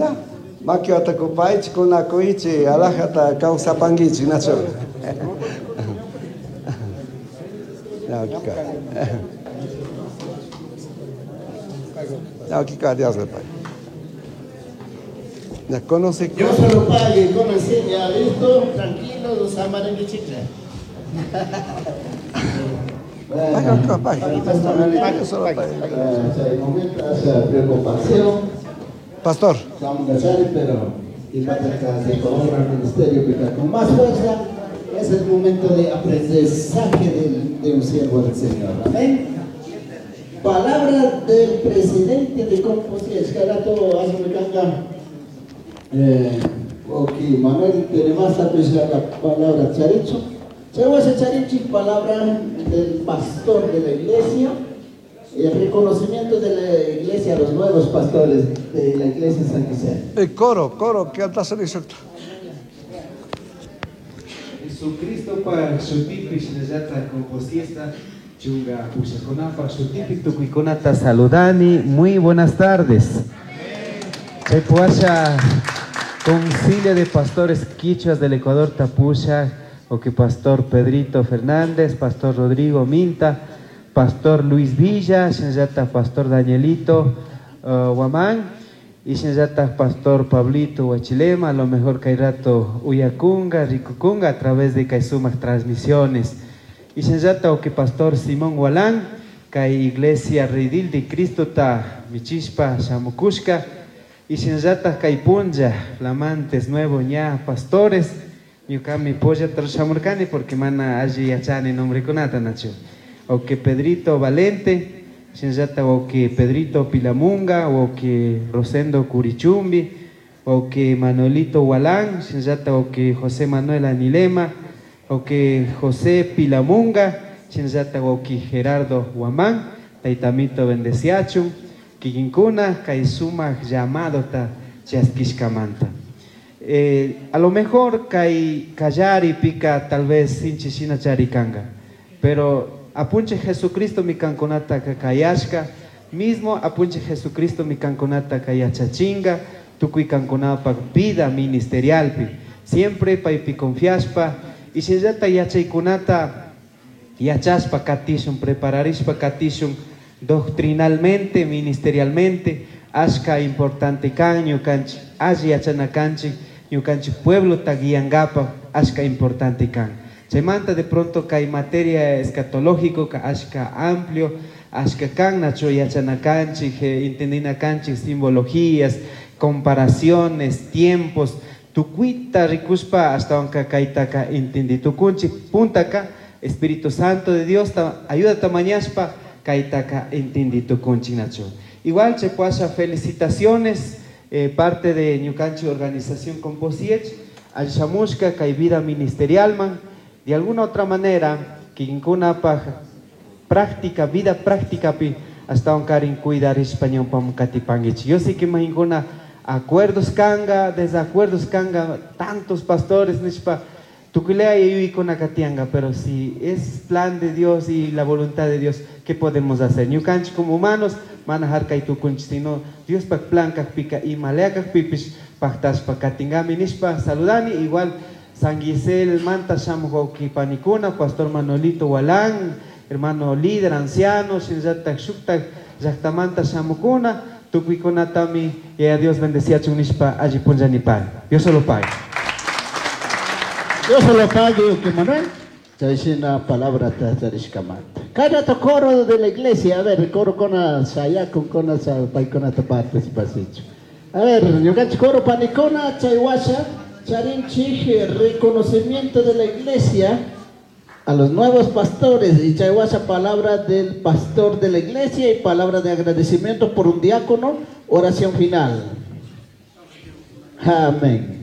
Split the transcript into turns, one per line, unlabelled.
Ya, makiwata kupaychik, kunakuychik, alajata kawsapankichik, nachu? Ya, okika. Ya, okika, Dios le pague. Ya, conoce.
Dios se lo pague, con ya listo, tranquilo, los amarenguichicle.
Pague, pague. Pague, solo pague.
Momento esa preocupación.
Pastor.
Pero y se cobra el ministerio con más fuerza. Es el momento de aprendizaje de un siervo del Señor. Amén. Palabra del presidente de Composición. Carato, hazme canga. Ok, Manuel, tenemos la palabra charicho. Charichi, palabra del pastor de la iglesia. El reconocimiento de la iglesia a los nuevos pastores de la iglesia San José.
El coro, coro, ¿qué andas en eso?
Jesucristo para shutipi shinallata composiesta chunga pushakunapa shutipi tukuykunata saludani. Muy buenas tardes. Chaypuasha Concilio de Pastores Quichuas del Ecuador Tapusha, o que Pastor Pedrito Fernández, Pastor Rodrigo Minta, Pastor Luis Villa, shinallata Pastor Danielito Guamán, y shinallata Pastor Pablito Huachilema, a lo mejor Kairato Uyacunga, Ricucunga, a través de Kaisumac Transmisiones. Y shinallata o que Pastor Simón Gualán, Kay Iglesia Redil de Cristo ta Michispa Shamukushka, y shinallata Kay Punja, flamantes nuevo ña pastores, ñukami polla trashamurkani porque mana allí yachani nombre kunata nacho. O que Pedrito Valente, shinallata o que Pedrito Pilamunga, o que Rosendo Curichumbi, o que Manuelito Gualán, shinallata o que José Manuel Anilema, o que José Pilamunga, shinallata o que Gerardo Guamán, Taitamito bendeciachun, Kikinkuna, Kaisuma llamado ta chaskishkamanta. A lo mejor kai kallari pica tal vez sinchi shina charikanga, pero apunche Jesucristo mi kankunata kakayashka, mismo apunche Jesucristo mi kankunata kayachachinga, tukuy kankunapa vida ministerialpi, siempre paypi confiaspa, y shinallata yachaykunata yachaspa katishun, prepararishpa katishun doctrinalmente, ministerialmente, ashka importante kan, ñukanchik alli yachana kanchik, ñukanchik pueblo taguiangapa, ashka importante kan. Chaymanta de pronto kay materia escatológico, ka ashka amplio, ashka kan, nacho yachana kanchik, entendina kanchik, simbologías, comparaciones, tiempos, tukuita rikuspa hasta wanka kaytaka entendi tukunchik, puntaka Espíritu Santo de Dios ta, ayuda tamañaspa kaytaka entendi tukunchik nacho. Igual chepuasha felicitaciones, parte de ñukanchik organización Composiech, al shamushka kay vida ministerialman, de alguna otra manera, kikinkunapaj práctica, vida práctica pi, hasta un karin cuidar español pam katipanguich. Yo sé que mahinkuna acuerdos kanga, desacuerdos kanga, tantos pastores nishpa, tukulea y yuyikuna katianga, pero si es plan de Dios y la voluntad de Dios, ¿qué podemos hacer? Ñukanchik como humanos, manejar kay tukunchik, sino Dios pak plan kak pika y malea kak pipis, paktaspa katingami nishpa, saludani, igual San Gisel Manta Shamujoki Panikuna, Pastor Manolito Walán, hermano líder, anciano, Shinyatak Shuktak, Yaktamanta Shamukuna, Tukuikuna Tami, y a Dios bendecía Chunishpa, allí Punjanipal. Dios solo pague.
Dios solo pague, que Manuel. Chaishina palabra tacharishkamanta. Cada coro de la iglesia, a ver, coro con sayakun, con paikona participación. A ver, ñukanchik coro panikona, chaywasha, charinchij, reconocimiento de la iglesia a los nuevos pastores, y chaywasha palabra del pastor de la iglesia y palabra de agradecimiento por un diácono, oración final. Amén.